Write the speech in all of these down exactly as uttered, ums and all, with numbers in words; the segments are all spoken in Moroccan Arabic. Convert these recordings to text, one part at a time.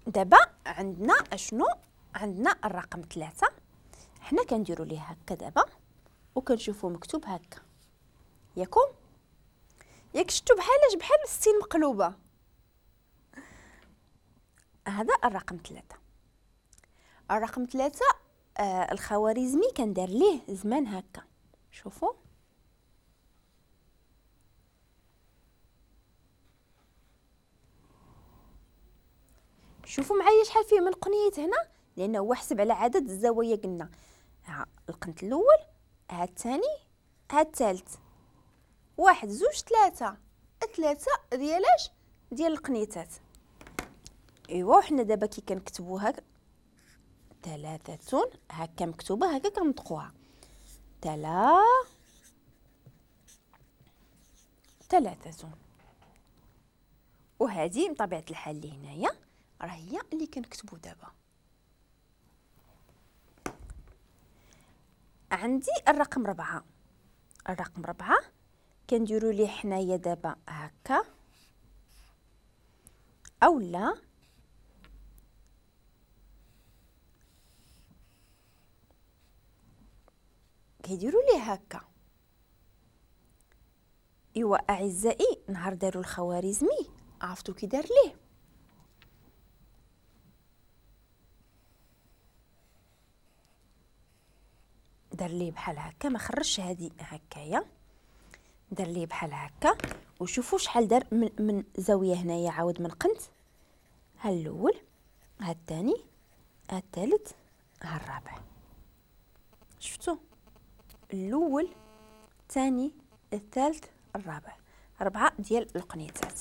دابا عندنا اشنو؟ عندنا الرقم ثلاثة، حنا كنديرو ليه هكا دابا وكنشوفو مكتوب هكا، ياكم؟ ياك شفتو بحالاش؟ بحال الستين مقلوبة. هذا الرقم ثلاثة. الرقم ثلاثة آه الخوارزمي كان دار ليه زمان هكا، شوفوا شوفوا معايا شحال فيه من قنيت هنا، لانه هو حسب على عدد الزوايا. قلنا ها القنت الاول، ها الثاني، ها الثالث، واحد زوج ثلاثة، ثلاثة ديالاش؟ ديال القنيتات. ايوا حنا دابا كي كنكتبوها ثلاثة هكا مكتوبة هكا كنطقوها تلا ثلاثة. وهذه بطبيعة الحال اللي هنايا راه هي اللي كنكتبو دابا. عندي الرقم ربعة، الرقم ربعة كنديرو ليه حنايا دابا هكا اولا كيديروا ليه هكا. ايوا اعزائي نهار داروا الخوارزمي عرفتوا كي دار ليه؟ دار ليه بحال هكا، ما خرجش هادي هكايا، دار ليه بحال هكا. وشوفوا شحال دار من, من زاوية هنايا عاود من قنت، ها الاول، ها الثاني، ها الثالث، ها الرابع. شفتوا؟ الاول، الثاني، الثالث، الرابع، ربعه ديال القنيتات.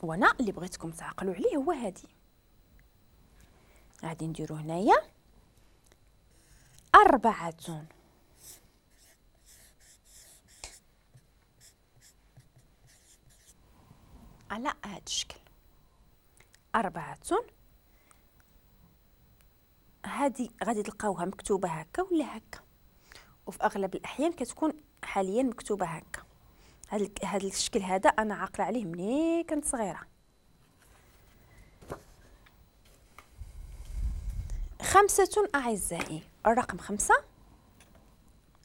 وانا اللي بغيتكم تعقلوا عليه هو هادي. غادي نديرو هنايا أربعة على هاد الشكل، أربعة. هادي غادي تلقاوها مكتوبة هكا ولا هكا، وفي أغلب الأحيان كتكون حاليا مكتوبة هكا. هاد هاد الشكل هذا أنا عاقلة عليه ملي كنت صغيرة. خمسة أعزائي، الرقم خمسة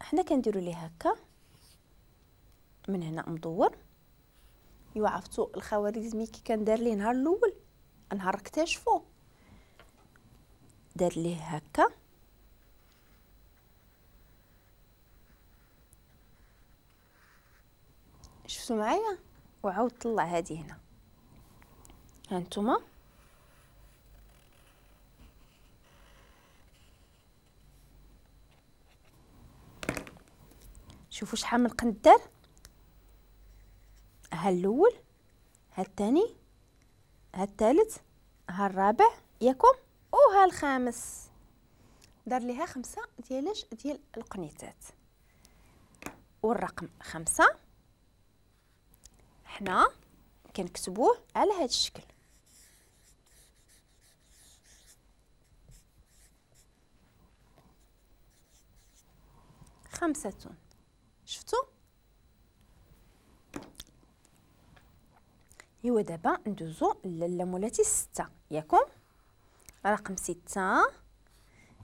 حنا كنديرو ليه هكا من هنا مدور. ايوا عرفتو الخوارزمي كي كان دار ليه نهار الاول، نهار اكتشفو دار ليه هكا، شفتو معايا؟ وعاود طلع هادي هنا. ها نتوما شوفوا شحال من قند دار. ها الاول، ها الثاني، ها الثالث، ها الرابع، ياكم، وها الخامس. دار ليها خمسة ديالاش؟ ديال القنيتات. والرقم خمسة حنا كنكتبوه على هذا الشكل. خمسة. شفتوا؟ ايوا دابا ندوزو للمولاتي ستة، ياكم؟ رقم ستة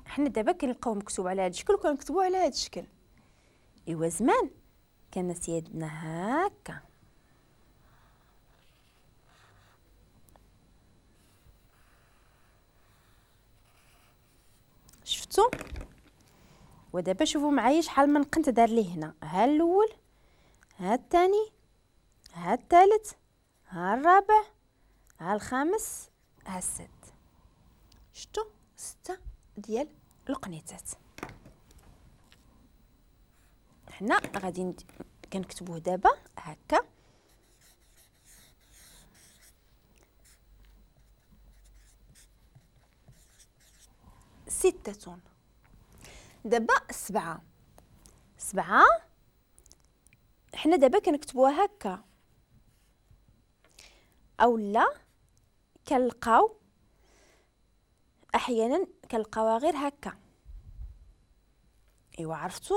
حنا دابا كنلقاو مكتوب على هذا الشكل وكنكتبوه على هذا الشكل. ايوا زمان كان سيادنا هكا، شفتوا؟ ودابا شوفوا معايا شحال من قنت دار ليه هنا. ها الاول، ها الثاني، ها الثالث، ها الرابع، ها الخامس، ها الست. شفتوا؟ ستة ديال القنيتات. حنا غادي كنكتبوه دابا هكا. ستة. دابا سبعة. سبعة حنا دابا كنكتبوها هكا، او لا كنلقاو احيانا كنلقاوها غير هكا. ايوا عرفتوا